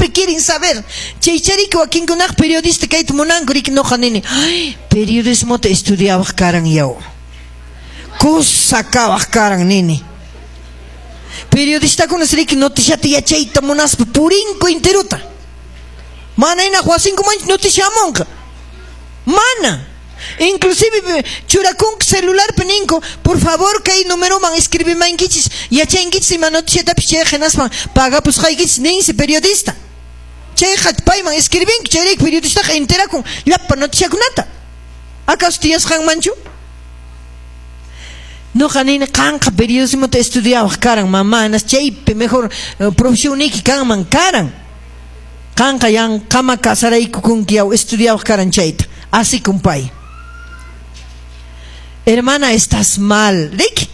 Siempre quieren saber. Chaychariki wakinkunaq periodista kayta munanku, riki. Noqa nini, ay, periodismota estudiawaq karan, yaw. Kusa kawaq karan, nini. Periodistakuna riki noticiata yachayta munaspa purinku enterota. Mana hinaq wasinkumanchu noticia hamunqa. Mana. Inclusive churakunku celularpi, ninku, "Por favor, kay numeroman escribimankichis, yachankichis ima noticiatapis chayqa, hinaspan pagapusqaykichis", ninsi periodista. Chayqa payman escribinku, chayrayku periodistaqa enterakun llapa noticiakunata. ¿Acaso tiyasqanmanchu? Noqa nini, qanqa periodismota estudiawaq karan, mamá, chaypi mejor profesionniki kanman karan. Qanqa yanqama casaraykukunki, yaw, estudiawaq karan chayta. Así kumpay. Hermana, estás mal. Riki?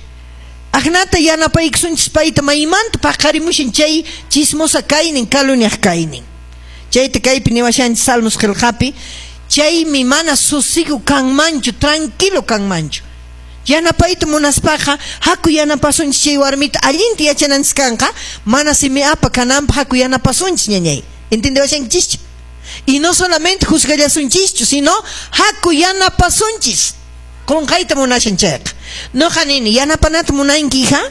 Aknata yanapaykusunchis payta, maymanta paqarimushan chay chismosa kaynin, caluniaq kaynin. Chayta kaypi niwashanchis Salmos qillqapi, chaymi mana sosigo kanmanchu, tranquilo kanmanchu. Yanapayta munaspaqa, haku yanapasunchis chay warmita allinta yachananchis kanqa, mana simi apa kananpaq haku yanapasunchis, ñañay. ¿Entiendewashankichischu? Y no solamente juzgallasunchischu, sino haku yanapasunchis. Qunqayta munashan chayqa. Noqa nini, yanapanata munanki, hija?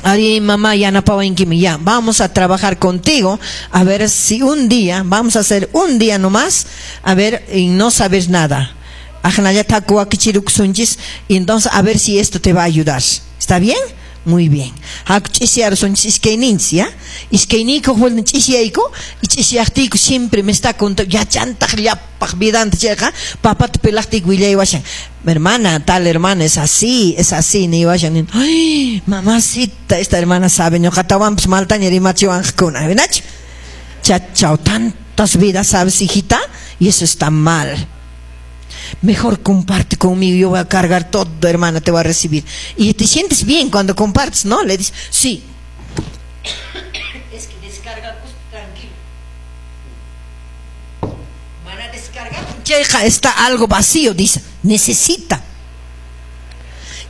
Ari, mamá, yanapawankimi. Ya, vamos a trabajar contigo. A ver si un día, vamos a hacer un día nomás, a ver, y no sabes nada. Ajnallata wakichirukusunchis, y entonces a ver si esto te va a ayudar. ¿Está bien? Muy bien. Haku ch'isiyarasunchis iskayninchis, ya? Iskayniykuq vuelta ch'isiyayku, y ch'isiyaqtiyku siempre me está contando, yachantaq llapaq vidanta chayqa, papata pelaqtiyku willaywashan. Hermana, tal hermana es así, niwashan. Ay, mamacita, esta hermana sabe, ñuqatawanpas maltaña rimachiwanqakuna, ¿nachu? Chachao, tantas vidas sabes, hijita, y eso está mal. Mejor comparte conmigo, yo voy a cargar todo, hermana, te voy a recibir. Y te sientes bien cuando compartes, ¿no? Le dices, sí. Es que descarga tranquilo. Van a descargar. Chayqa está algo vacío, dice. Necesita.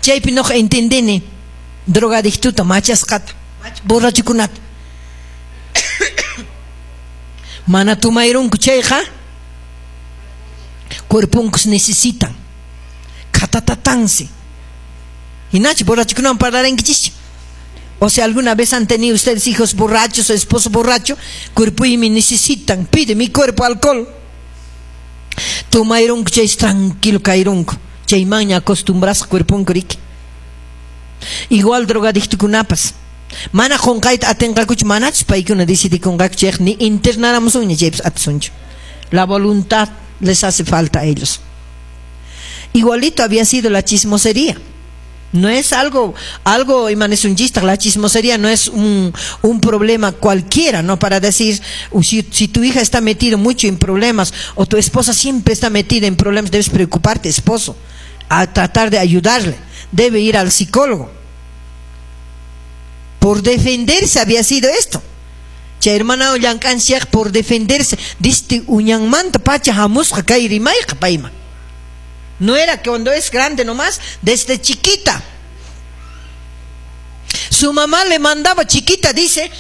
Chaypi no entendene. Drogadictuta, machasqata, borrachukunata. Mana tumayrunku chayqa cuerpunkus necesitan. Katatatansi. Hinachu borrachukunawan parlarankichis. O sea, alguna vez han tenido ustedes hijos borrachos o esposo borracho, cuerpo y me necesitan, pide mi cuerpo alcohol. Tumayrunku chay tranquilo kayrunku. Chaymanña acostumbras cuerponku, riki. Igual drogadictukunapas. Mana qunqayta atinqakuchu, manachus paykuna decidikunqaku chayqa, ni internaramusunña chaypas atisunchu. La voluntad les hace falta a ellos. Igualito había sido la chismosería. No es algo imanesunchista, la chismosería no es un problema cualquiera, ¿no? Para decir, si tu hija está metida mucho en problemas o tu esposa siempre está metida en problemas, debes preocuparte, esposo, a tratar de ayudarle. Debe ir al psicólogo. Por defenderse había sido esto. Chay hermana llank'anchik por defenderse, diste uñanmanta pacha hamusqa kay rimayqa payman. No era que cuando es grande nomás, desde chiquita. Su mamá le mandaba chiquita, dice,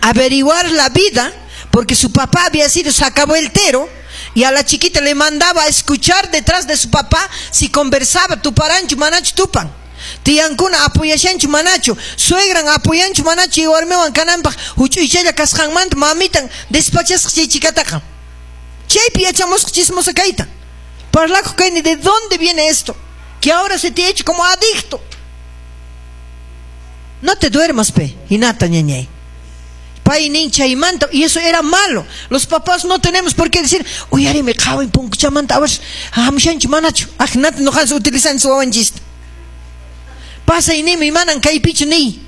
averiguar la vida, porque su papá había sido sacavueltero, y a la chiquita le mandaba a escuchar detrás de su papá si conversaba, tuparanchu, manachu tupan. Tiyankuna apoyashanchu manachu, suegran apoyanchu manachu, warmiwan kananpaq huch'uychalla kasqanmanta mamitan despachasqa chay chikataqa. Chaypi yachamusqa chismosa kayta. Parlakuq kayni, ¿de dónde viene esto? Que ahora se te ha hecho como adicto. No te duermas, pe, hinata ñañay. Pay nin chaymanta, y eso era malo. Los papás no tenemos por qué decir, uyarime qhawin punkuchamanta, a ver, hamushanchu manachu. Ajnata noqanchis utilizanchis wawanchista. Pasay nimi manan kaypichu niy.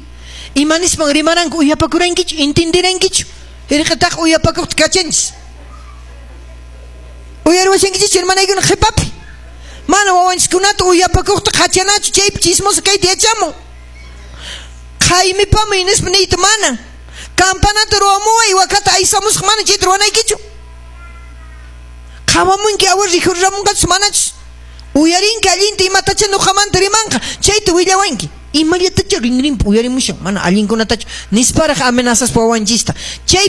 Ima nispan rimaranku uyapakurankichu, entenderankichu. Irqataq uyapakuqta kachanchis. Uyariwashankichis, hermanaykuna, qhipapi. Mana wawanchiskunata uyapakuqta qhachanachu, chaypi chismoso kayta yachamun. Qaymipami nispa niyta mana. Campanata ruwamuway wakata aysamusqa, mana chayta ruwanaykichu. Qhawamunki awar rikhuriramunqachus manachus. Uyarinki allinta imatacha nuqamanta rimanqa, chayta willawanki. Imallatacha rinrinpi uyarimushan, mana allinkunatachu nisparaq amenazaspa wawanchista. Chay